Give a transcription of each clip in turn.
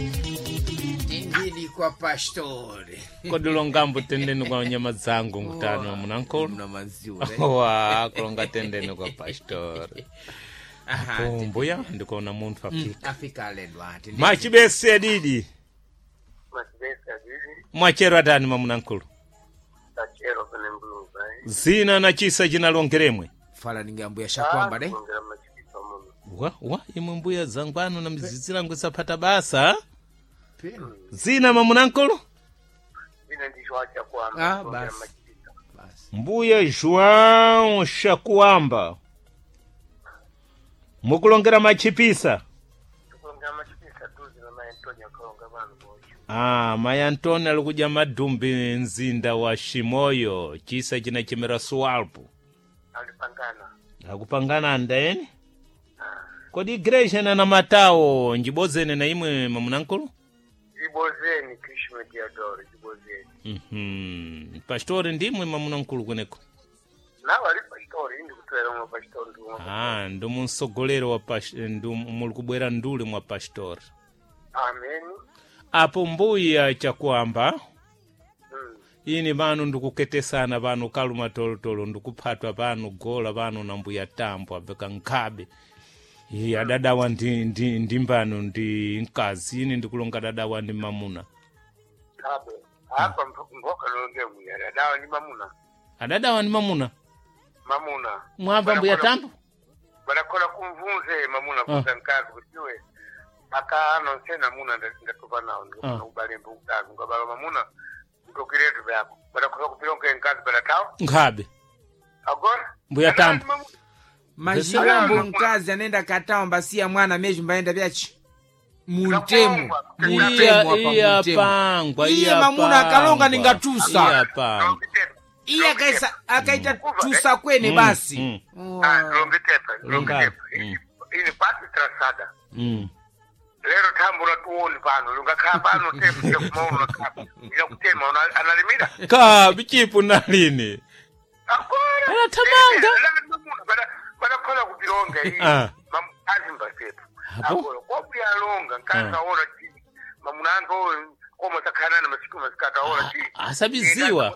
Tindini kwa pastori. Kodi longambo tendeni kwa nyama dzangu mkutano munankulu. Mna maziwa. Wa kulonga tendeni kwa pastori. Aha. Po mbuya ndikuona munthu afika. Afika alendwa tindini. Machibese adidi. Machibese adidi. Mwachero atani mamunankulu. Tachero pene mbuluza. Zina na chisa chinalongeremwe. Fala ninge ambuya shakwamba de. Kulongera machibisa muno. Wa wa imwe mbuya zangu anu na mzizi langu isapata basa. Pena. Zina mamunankulu. Zina ndicho acha kwamba. Ah, Kulongera basi. machibisa. Basi. Mbuya João Shakuamba. Mukulongera machipisa. Kulongera machibisa duzi na mai Antonio kulonga vanhu vocho. Ah, mai Antoni ali kudya madumbi mzinda wa Shimoyo, chisa chinachemera Sualpo. Alipangana. Akupangana andaeni? Kodi igreja na namatawo njibodzene na imwe mamunankulu? Jibozeni Krishna Diadoro jibozeni. Mhm. Pastori ndimwe mamunankulu kweneko. Nawo ali pastori indi kutwera mwa pastori ndi mwa. Ah, ndomunsogolero wa muli kubwera ndule mwa pastori. Amen. Apo mbuya chakuamba ini pano ndikuketesana pano kaluma tolotolo ndikuphatwa pano gola pano na mbuya tambo abveka nkhabe iye adadawa ndi mbano ndi mkazi ini ndikulonga dadawa ndi mamuna. Kabe. Apa mboka longe muyara. Adawa ni mamuna. Adadawa ndi mamuna. Mamuna. Mwamva mbuya tambo? Barakola kumvunze mamuna kuza nkazi kutiwe. Aka ano nsena muna ndatopa nawo ndikufuna ubalembe ukazi ngabala mamuna ndokiretu vyako. Barakola kupilonke nkazi baratawo. Nkhabe. Agora? Mbuya tambo. Majirombo mkazi anaenda katawa mbasiya mwana mezho mbaenda vyachi. Muntemu. Muntemu apa Iya muntemu. pangwa Iye mamuna akalonga ningatusa. Iya pangwa. Iye akaisa akaita tusa kwene basi. Longitepa, Longa. longitepa. Ini pati trasada. Lero tambo natuoni pano, lungakhala pano tepu chakumaona kapa. Ndinakutema analimira. Kabi chipu nalini. Agora. Anathamanga. Badakola kupilonga iyi. Ah. Mamukazi mbasepu. Apo? Agora kwabuyalonga nkazi aona chi. Mamuna anga oyo koma sakhanana masiku masikati aona chi. Asabiziwa.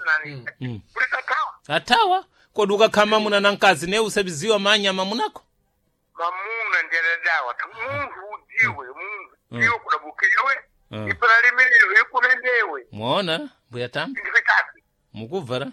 Kulikathawa. Atawa kodi ukakhala mamuna na mkazi ne usabiziwa manya mamunako? Mamuna ndiyadadawa. Munthu udziwe, munthu udziwe kudabukirewe. Mm. Ipanalimirewe ikulendewe. Mwaona mbuya tambo Ndipitatu. mukubvara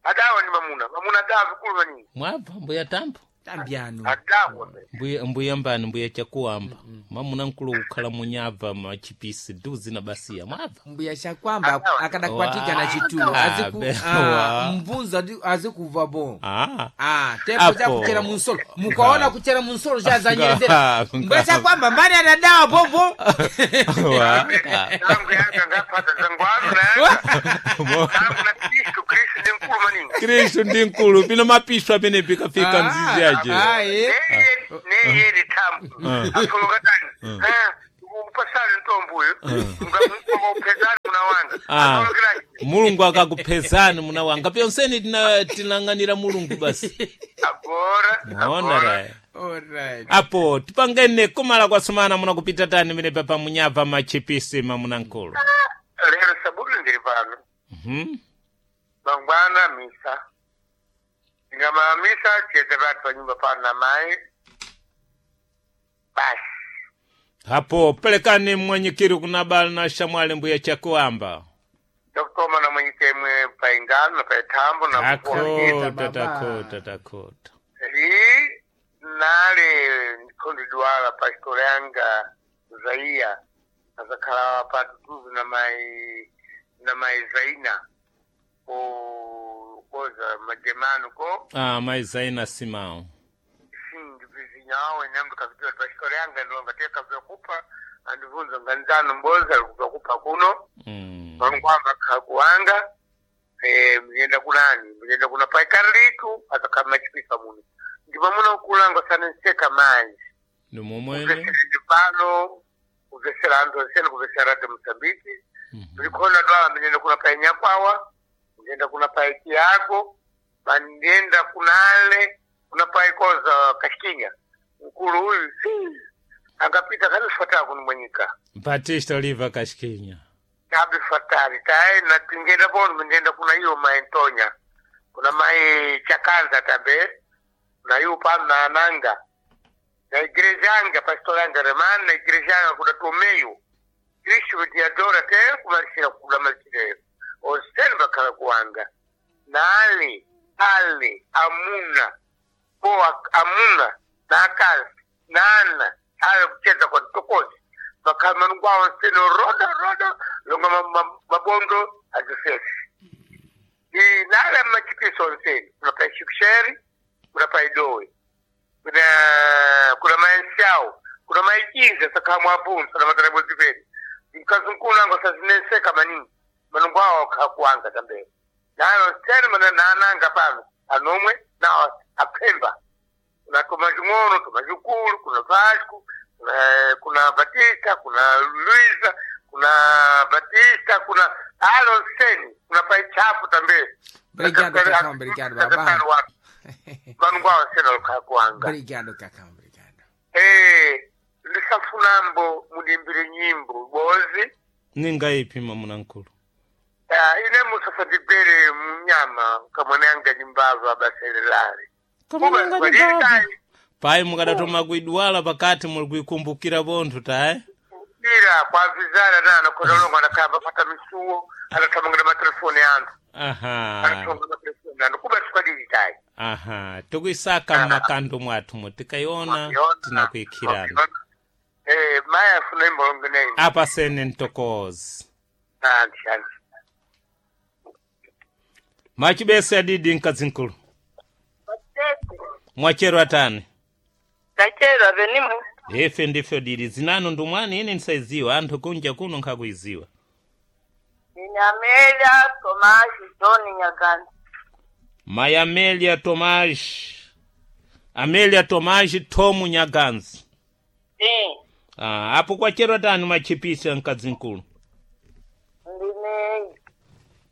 Adawa ni mamuna. Mamuna adawa vikulu maningi. mwabva mbuya tambo. Tambyano. Adawa. Mbuya mbuya mbani mbuya chakuamba mamuna mkulu kukhala munyabva machipisi duzi na basiya mwabva. Mbuya shakwamba akadakwatika na chitulo. Wa. Aziku Abe, ah, wa. mvunza azikuva bo. Ah. Ah, tepo Apo. cha kuchera munsolo. Mukaona kuchera munsolo chazanyezera. Nga- Mbuya shakwamba mbani anadawa bobo. Wa. Zangu yanga ngapata zangu anu na yanga. Zangu na Kristu, Kristu ndi mkulu maningi. Kristu ndi mkulu pino mapiswa amene pikafika mzizi aje. Ah, eh. Neye ni tambu. Afuluka tani. Upasani mtombo uyu. Ngaupezani muna wanga. Ah. Afulukirani. Mulungu akakuphezani muna wanga pyonseni tinang'anira mulungu basi. Agora. Mwaona raya. Alright. Apo tipangene kumala kwasumana muna kupita tani mene papa munyabva machipisi mamuna mkulu. Lero saburi ndiri pano. Mhm. Mangwana misa. Ngama misa chete vatu panyumba pano na mai. Basi. Apo pelekani mwanyikiri kuna bala na shamwali mbuya chakuamba. Ndokutoma na mwenyikemwe paingano na paithambo na kukuwa. Takota Baba. takota takota. Li nale ndikhondidwala pasitolo yanga Zaiya azakhala patutuzu na mai na mai Zaina ko koza majemano ko Ah, mai Zaina Simão. sindivizinyawo enyambo kapitula pasitolo yanga ndilonga teka vyakupa andivunza nganizano mboza kupa kuno Vankwamba kakuwanga muyenda kunani muyenda kuna paikarilitu azakhala machipisa muno ndipo muno kulanga sanenseka manji Ndi momwene. kuvesera pano kuvesera anthu onsene kuvesera radio Mozambique ndikhona dwala ndiyenda kuna pai Nyakwawa ndiyenda kuna pai Tiago bandiyenda kunale kuna pai koza Kashikinya mkulu uyu si. Angapita kalifuata kunimwenyika. Batista Oliva Kashikinya. Tabi fatari tae na tingenda bono mindenda kuna hiyo maentonya. Kuna mai chakanza tabe. Na hiyo pano na ananga. Na igreja anga pastor anga remana na igreja anga kuna tomeyo. Kristo diadora te kumalishira kula malishira. Oseni bakala kuanga. Na ali ali amuna poa amuna na akazi na ana ayo kucheza kwa tokozi bakamanu kwawo nseno rodo rodo longa mabondo azifesi nala machipiso nseni kuna pa shiksheri kuna pa idowe kuna kuna maenshao kuna maikinza sakamwabunsa na matarebo zipeni mkazunkunango sazineseka maningi manungu awo kakuanga tambele nayo nseni mana nananga pano anomwe nawo apemba kuna tomajung'ono tomajukulu kuna Vasco kuna Batista kuna Luisa kuna Batista kuna Alonseni kuna Paichafu tambe. Obrigado, Cacau, obrigado, babá. Vanhu nseni alikakuanga. Obrigado, Cacau, obrigado. Ndisafunambo mudimbire nyimbo bozi. Ninga ipi mamuna nkulu? Ine musafatibere munyama kamwananga nyimbava baselelale. Kamwananga nyimbava. Pai mukadatoma kuidwala pakati muli kuikumbukira bonthu tae. Ira kwavizana nana kodolongo anakamba pata misuo anathamangana matelefoni anthu. Aha. Anathonga matelefoni anthu kuba sikwadili tayi. Aha, tikuisaka mmakando mwathu mo tikaiona tinakuikhirana. Maya afuna imbolongo neyi. Apa sene ntokozi. Anti anti. Machibese adidi mkazinkulu. Mwachero atani. Tachero avenimwe. Ife ndifyo dili zinano ndumwani ine nisaiziwa anthu kunja kuno nkhakuiziwa. Ninamelia Tomashi John Nyagani. Mai Amelia Tomashi. Amelia Tomashi Tomu Nyaganzi. Sim. Ah, apo kwachero atani machipisa mkazinkulu. Ndine.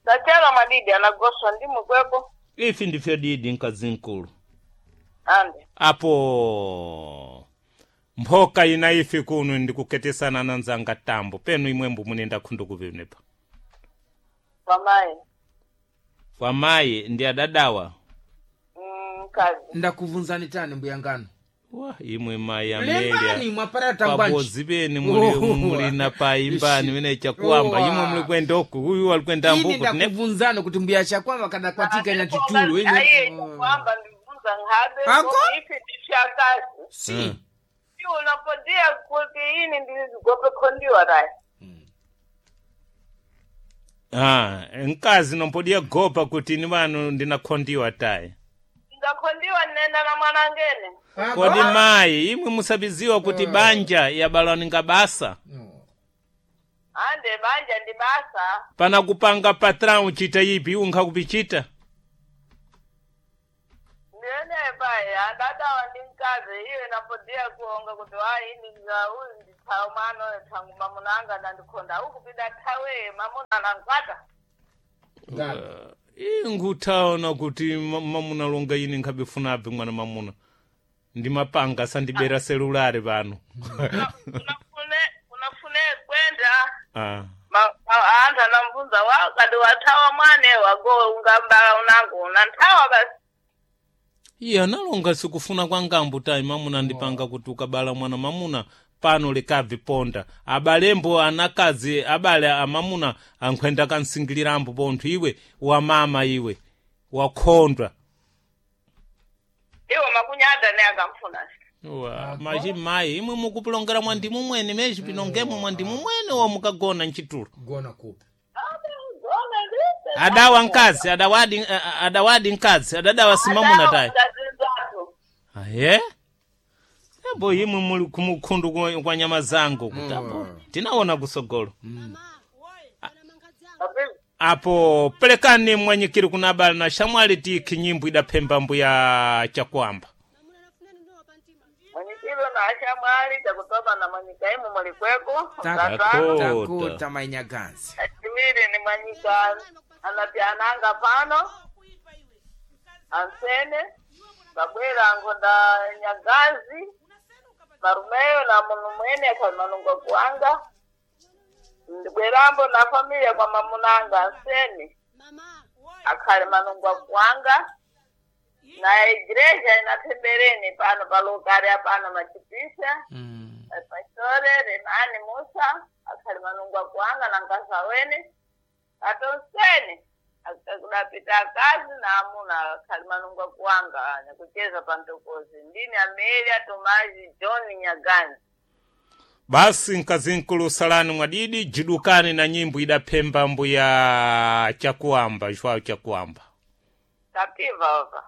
Tachero madidi anagoswa ndimu kwepo. Ifi ndifyo didi mkazinkulu. Ande. Apo mphoka ina ifi kuno ndikuketesana na nzanga tambo penu imwembo munenda khundu kuvinepa. Pamai. Kwa mayi ndi adadawa. Mkazi. Ndakuvunzani tani mbuyangano. Wa imwe mayi Lembani Amelia. mwapara tangwanji. Pabozi beni muli muli na paimbani mene chakuamba imwe muli kwenda uku uyu ali kwenda Ini mbuku tine ndakuvunzani kuti mbuya chakwamba kada kwatika ina chitulo Aye ine. kwamba ndivunza nhabe. Ako? Ifi ndifyakazi. Si. Iwe unapodia kuti ini ndilizigope khondiwa rai. Ah, nkazi nompodiya gopa kuti ni vanu ndinakhondiwa tayi. Ndakhondiwa nenda na mwanangene. Kodi mayi imwe musabiziwa kuti banja yabalwaninga basa. Ande banja ndi basa. Pana kupanga patrão uchita ipi unkha kupichita. Ndiyene pai adadawa ndi mkazi iye napodia kuonga kuti wayi ndinga uyu ndithawu mano thangu mamunanga ndandikhonda ukupida thawe mamuna nankwata. Ingutaona kuti mamuna longa ine nkhabifuna abve mwana mamuna. Ndimapanga sandibera selulari pano. Unafune kwenda Ah. anthu anamvunza wa kadi wathawa mwane wago ungambala unangu unanthawa basi. Iye analonga sikufuna kwa ngambu tayi mamuna ndipanga kuti ukabala mwana mamuna pano likabvi ponda. Abalembo anakazi abale amamuna ankhwenda kansingilirambo pontho iwe wamama iwe wakhondwa. Iwo makunyada ne akamfuna. Wa, machi mayi imwe mukupulongera mwandimu mwene mezhi pinongemo mwandimu mwene wa mukagona mchitulo. Gona kupi. Adawa nkazi adawadi adawadi nkazi adadawa simamuna tayi. Adawa Aye? Abo imwe muli kumukhundu kwa nyama zangu kuti apo tinaona kusogolo. Apo pelekani mwanyikiri kuna abale na shamwali tikhi nyimbo idaphemba mbuya chakwamba. Mwenyekiro na ashamwali chakutoba na mwanyika imu mulikweko. Takuta. Takuta mainyaganzi. Achiwiri ni mwanyika anapyananga pano ansene babwera ngonda nyagazi. Marumeyo na munu mwene akhali manungo kuwanga. Ndibwerambo na familia kwa mamunanga anseni akhali manungo kuwanga. Na igreja inatembereni pano palokari apano machipisa. Pastore Renani Musa akhali manungo kuwanga na nkasa wene. Atonseni akudapita akazi na amuna akhali manungo kuwanga nikucheza pantokozi. Ndini Amelia Tomazi John Nyagani. Basi nkazinkulu salani mwadidi jidukani na nyimbo idaphemba mbuya chakuamba Joao chakuamba. Tapiva ova.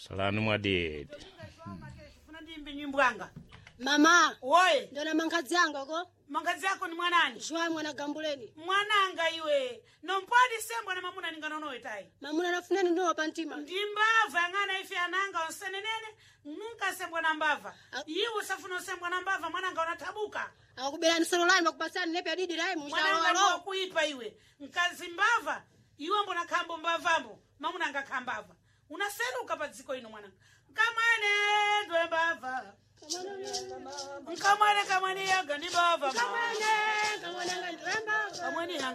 Salani mwadidi. Funa ndimbe nyimbo anga. Mama, Woye, ndona mankhadzi anga ko mangazi yako ni mwanani? Joao mwana gambuleni. Mwananga iwe. Nompwadi sembwa na mamuna ninganonowe tayi. Mamuna nafuneni ndowa pantima. Ndi mbava ang'ana ife ananga onsenenene nunka sembwa na mbava. Iwe usafuna usembwa na mbava mwananga unatabuka. Akuberani solo lani makupasani nepe adidi lai Mwananga mushalo. kuipa iwe. Nkazi mbava iwe mbona khambo mbavambo mamunanga khambava. Unaseruka pa dziko ino mwananga. Nkamwene ndwe mbava. Nkamwene kamwene yaga ndi mbava. Kamwana, kamwana ngandremba. Kamwene yanga